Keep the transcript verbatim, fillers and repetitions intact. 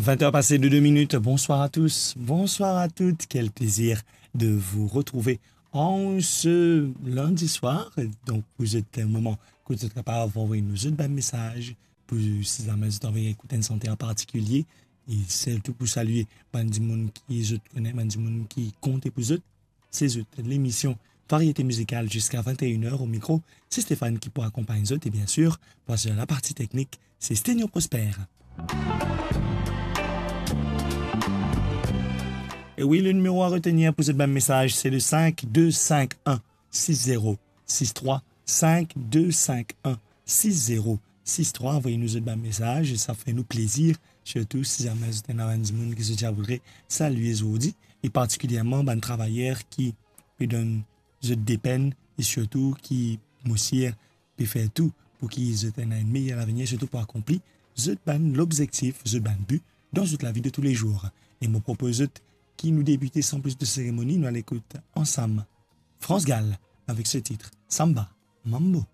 Vingt heures passées de deux minutes. Bonsoir à tous, bonsoir à toutes. Quel plaisir de vous retrouver en ce lundi soir. Donk, pou zot moman kot zot kapav anvoy nou zot bann mesaz, pou si zame zot anvi ekout enn sante an partikilie, e sirtou pou salie bann dimoun ki zot kone, bann dimoun ki konte pou zot. Se zot lemision Variété Musicale jusqu'à vingt et une heures. Au micro, c'est Stéphane qui pou akonpagn zot, e bien sûr, pou asir laparti teknik, se Stenio Prosper. E wi, le nimero a retenir pou zot bann mesaz, se le cinq deux cinq un six zéro six trois, cinq deux cinq un six zéro six trois. Anvoy nou zot bann mesaz, sa fer nou plezir, sirtou si zame zot ena bann dimoun ki zot ti a voudre salie zordi, e partikilierman bann travayer ki pe donn zot depenn, e sirtou ki, mo sir, pe fer tou pou ki zot ena enn meyer lavenir, sirtou pou akonpli zot bann lobzektif, zot bann bi dan zot lavi de tous les jours. E mo propoz zot ki nou debite san plis de seremoni, nou al ekout ansam France Gall avek so tit Samba Mambo.